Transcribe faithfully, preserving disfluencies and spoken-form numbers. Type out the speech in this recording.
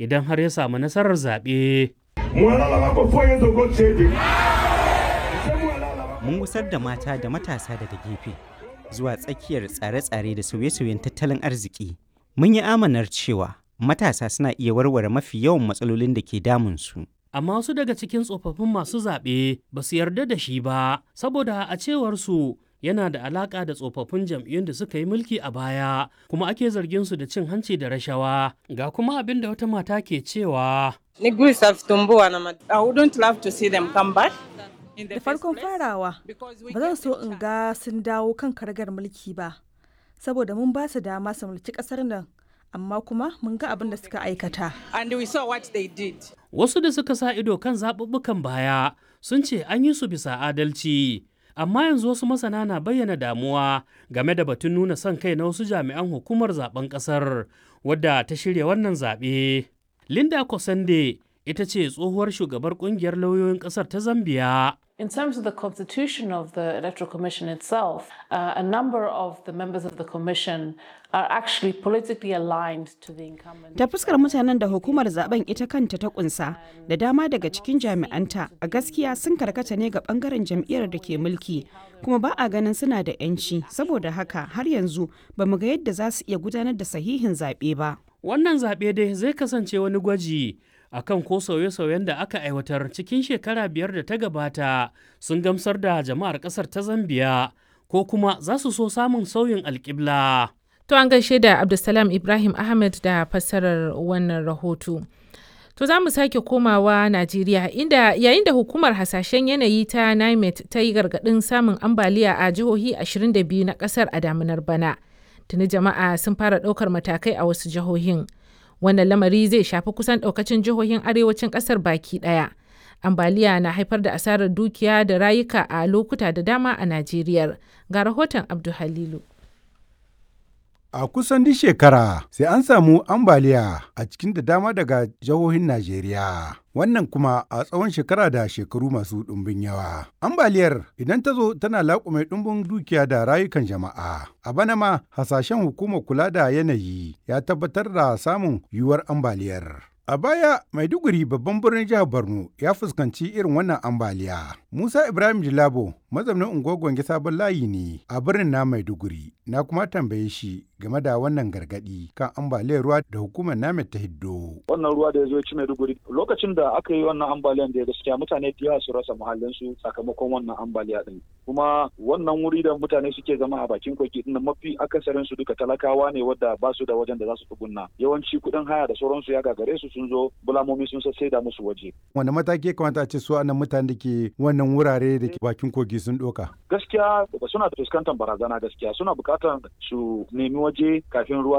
idan har ya samu nasarar zaɓe. Mun gusar da mata da matasa daga gefe zuwa tsakiyar tsare-tsare da sauye-sauyen tattalin arziki. Mun yi amanar cewa matasa suna iya warware mafi yawan matsalolin da ke damunsu. Amma wasu daga cikin tsofaffin masu zaɓe ba su yarda da shi ba, saboda a cewar su yana da alaƙa da tsofaffin jam'iyyun da suka yi mulki a baya, kuma ake zargin su da cin hanci da rashawa. Ga kuma abin da wata mata ke cewa. I wouldn't love to see them come back. Da farkon farawa, ba zan so in ga sun dawo kan karagar mulki ba, saboda mun ba su dama su mulki kasar nan, amma kuma mun ga abin da suka aikata. And we saw what they did. Wasu da suka sa ido kan zaɓuɓɓukan baya sun ce an yi su bisa adalci. Amma yanzu wasu masana na bayyana damuwa game da batun nuna son kai na wasu jami'an hukumar zaben ƙasar wadda ta shirya wannan zaɓe. Linda Kosande ita ce tsohuwar shugabar kungiyar lauyoyin ƙasar ta Zambiya. In terms of the constitution of the Electoral Commission itself, uh, a number of the members of the commission are actually politically aligned to the incumbent. Ta fuskar mutanen da hukumar zaben ita kanta ta kunsa da dama daga cikin jami'anta a gaskiya sun karkata ne ga bangaren jam'iyyar da ke mulki kuma ba a ganin suna da 'yanci saboda haka har yanzu ba mu ga yadda za su iya gudanar da sahihin zaɓe ba. Wannan zaɓe dai zai kasance wani gwaji akan ko sauye-sauyen da aka aiwatar cikin shekara biyar da ta gabata sun gamsar da jama'ar kasar ta Zambiya ko kuma za su so samun sauyin alƙibla. To an gaishe da Abdulsalam Ibrahim Ahmed da fassarar wannan rahoto. To za mu sake komawa Najeriya inda yayin da hukumar hasashen yanayi ta NIMET ta yi gargaɗin samun ambaliya a jihohi ashirin da biyu na ƙasar a damunar bana. Tuni jama'a sun fara ɗaukar matakai a wasu jihohin. Wannan lamari zai shafi kusan ɗaukacin jihohin arewacin ƙasar baki ɗaya. Ambaliya na haifar da asarar dukiya da rayuka a lokuta da dama a Najeriya. Ga rahoton Abdu Halilu. A kusan duk shekara sai an samu ambaliya a cikin da dama daga jihohin Najeriya. Wannan kuma a tsawon shekara da shekaru masu ɗumbin yawa. Ambaliyar idan ta zo tana laƙume ɗumbin dukiya da rayukan jama'a. A bana ma hasashen hukumar kula da yanayi ya tabbatar da samun yiwuwar ambaliyar. A baya, Maiduguri babban birnin jihar Borno ya fuskanci irin wannan ambaliya. Musa Ibrahim Jilabo mazaunin unguwar Gwange Sabon Layi ne a birnin na Maiduguri. Na kuma tambaye shi game da wannan gargadi kan ambaliyar ruwa da hukumar NAMED ta hiddo. Wannan ruwa da ya zo ya ci Maiduguri lokacin da aka yi wannan ambaliyan da ya gaskiya mutane da yawa su rasa muhallinsu sakamakon wannan ambaliya din. Kuma wannan wuri da mutane suke zama a bakin kogi din mafi akasarin su duka talakawa ne wadda ba su da wajen da za su tsugunna. Yawanci kuɗin haya da sauransu ya gagare su, sun zo bulamomi sun da musu waje. Wanda mataki ya kamata a ce su anan mutane da ke wannan wurare da ke bakin kogi sun ɗauka? Gaskiya suna fuskantar barazana, gaskiya suna buƙatar su nemi waje kafin ruwa